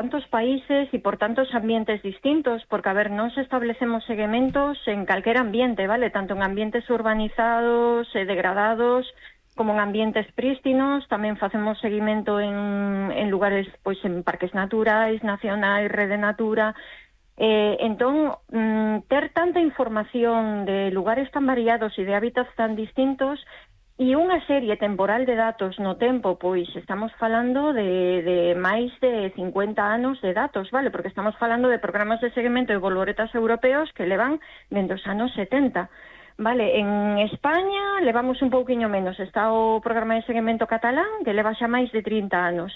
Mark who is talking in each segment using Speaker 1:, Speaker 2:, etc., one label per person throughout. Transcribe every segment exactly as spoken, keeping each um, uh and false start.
Speaker 1: tantos países e por tantos ambientes distintos, porque, a ver, nos establecemos seguimentos en calquer ambiente, vale? Tanto en ambientes urbanizados e degradados, como en ambientes prístinos, tamén facemos seguimento en, en lugares, pois, en parques naturais, nacionais, rede natura. Eh, entón, mm, ter tanta información de lugares tan variados e de hábitats tan distintos e unha serie temporal de datos no tempo, pois estamos falando de, de máis de cincuenta anos de datos, vale? Porque estamos falando de programas de seguimento de bolboretas europeos que levan dende os anos setenta. Vale, en España levamos un pouquiño menos. Está o programa de seguimento catalán, que leva xa máis de trinta anos.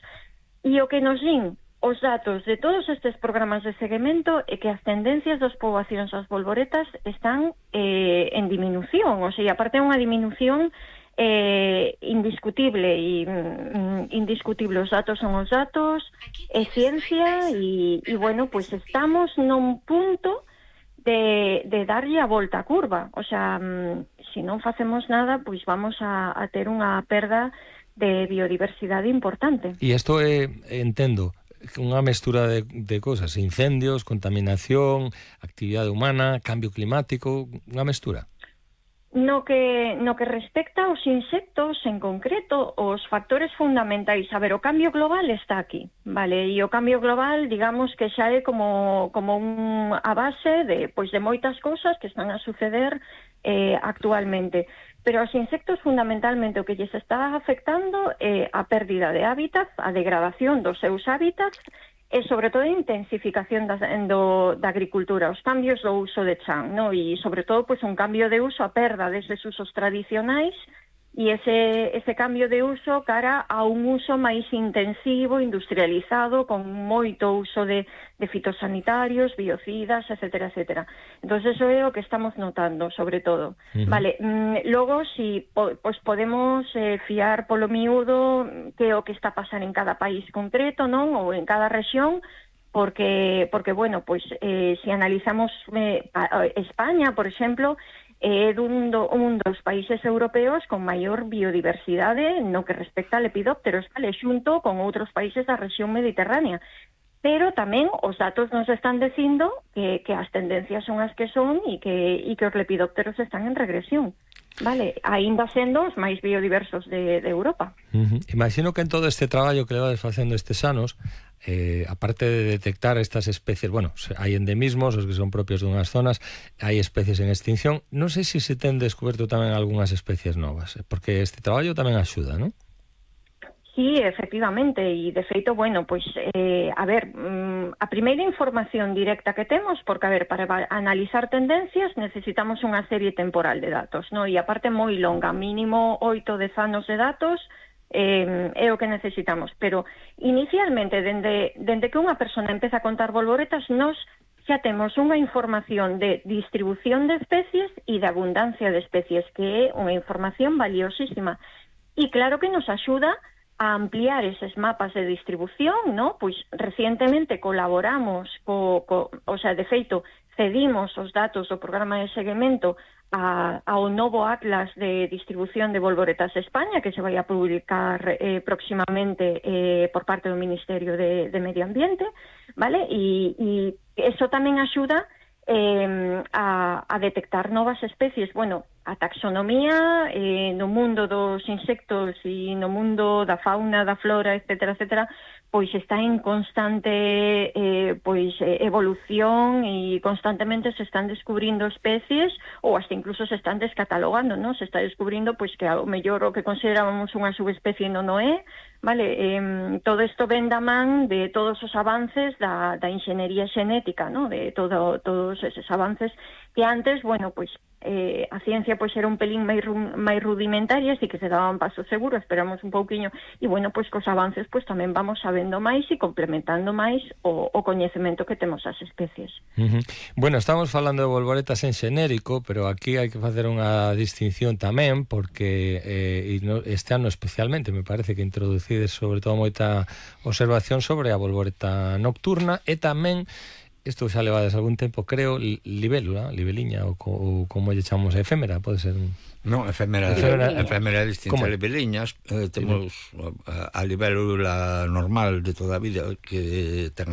Speaker 1: E o que nos din os datos de todos estes programas de seguimento é que as tendencias das poboacións das bolboretas están eh, en diminución. O sea, aparte é unha diminución eh, indiscutible e mm, indiscutible. Os datos son os datos, é ciencia e, e bueno, pues estamos nun punto de, de darlle a volta á curva. O sea, mm, se non facemos nada, pois vamos a, a ter unha perda de biodiversidade importante.
Speaker 2: E isto é, entendo, unha mestura de, de cosas, incendios, contaminación, actividade humana, cambio climático, unha mestura.
Speaker 1: No que, no que respecta aos insectos, en concreto, os factores fundamentais, a ver, o cambio global está aquí, vale? E o cambio global, digamos que xa é como, como un, a base de, pois, de moitas cousas que están a suceder eh, actualmente. Pero aos insectos, fundamentalmente, o que lles está afectando é a pérdida de hábitats, a degradación dos seus hábitats, e sobre todo a intensificación da, do, da agricultura, os cambios do uso de chan, no? E sobre todo pois, un cambio de uso, a perda deses usos tradicionais e ese, ese cambio de uso cara a un uso máis intensivo, industrializado, con moito uso de, de fitosanitarios, biocidas, etcétera, etcétera. Entón, eso é o que estamos notando, sobre todo. Uh-huh. Vale, mm, logo, si po, pues podemos eh, fiar polo miúdo que é o que está a pasar en cada país concreto, non? Ou en cada rexión, porque, porque bueno, pues, eh, si analizamos eh, a, a España, por exemplo, é un, do, un dos países europeos con maior biodiversidade no que respecta a lepidópteros, vale, xunto con outros países da rexión mediterránea. Pero tamén os datos nos están dicindo que, que as tendencias son as que son e que, e que os lepidópteros están en regresión. Vale, aínda sendo os máis biodiversos de, de Europa.
Speaker 2: Uh-huh. Imagino que en todo este traballo que levades facendo estes anos, eh, aparte de detectar estas especies, bueno, hai endemismos, os que son propios dunhas zonas, hai especies en extinción, non sei se se ten descoberto tamén algunhas especies novas, porque este traballo tamén axuda, non?
Speaker 1: Sí, efectivamente, e de feito, bueno, pois, eh, a ver, mm, a primeira información directa que temos, porque, a ver, para analizar tendencias necesitamos unha serie temporal de datos, no? E aparte moi longa, mínimo oito, dez anos de datos, eh, é o que necesitamos. Pero, inicialmente, dende, dende que unha persona empeza a contar bolboretas, nos xa temos unha información de distribución de especies e de abundancia de especies, que é unha información valiosísima. E claro que nos axuda a ampliar eses mapas de distribución, ¿no? Pois recientemente colaboramos co, co, o sea, de feito, cedimos os datos do programa de seguimento a, ao novo Atlas de distribución de bolboretas de España, que se vai a publicar eh, próximamente eh, por parte do Ministerio de, de Medio Ambiente, ¿vale? E, e eso tamén axuda eh, a, a detectar novas especies. Bueno, a taxonomía eh, no mundo dos insectos e no mundo da fauna, da flora, etcétera, etcétera, pois está en constante eh, pois evolución e constantemente se están descubrindo especies ou hasta incluso se están descatalogando, ¿no? Se está descubrindo pois que ao mellor o que considerábamos unha subespecie non o é, vale? Eh, todo isto ven da man de todos os avances da, da inxeniería xenética, ¿no? De todo, todos eses avances que antes, bueno, pois eh, a ciencia pois era un pelín máis, máis rudimentaria, así que se daban paso seguro, esperamos un pouquiño, e bueno, pois cos avances pois tamén vamos sabendo máis e complementando máis o, o coñecemento que temos as especies.
Speaker 2: Uh-huh. Bueno, estamos falando de bolboretas en xenérico, pero aquí hai que facer unha distinción tamén, porque eh, este ano especialmente me parece que introducides sobre todo moita observación sobre a bolboreta nocturna e tamén isto xa levades algún tempo, creo, libélula, libeliña, ou, ou como lle chamamos, efémera, pode ser?
Speaker 3: Non, efémera, efémera, efémera distinta, libeliñas, eh, temos a, a libélula normal de toda a vida, que ten as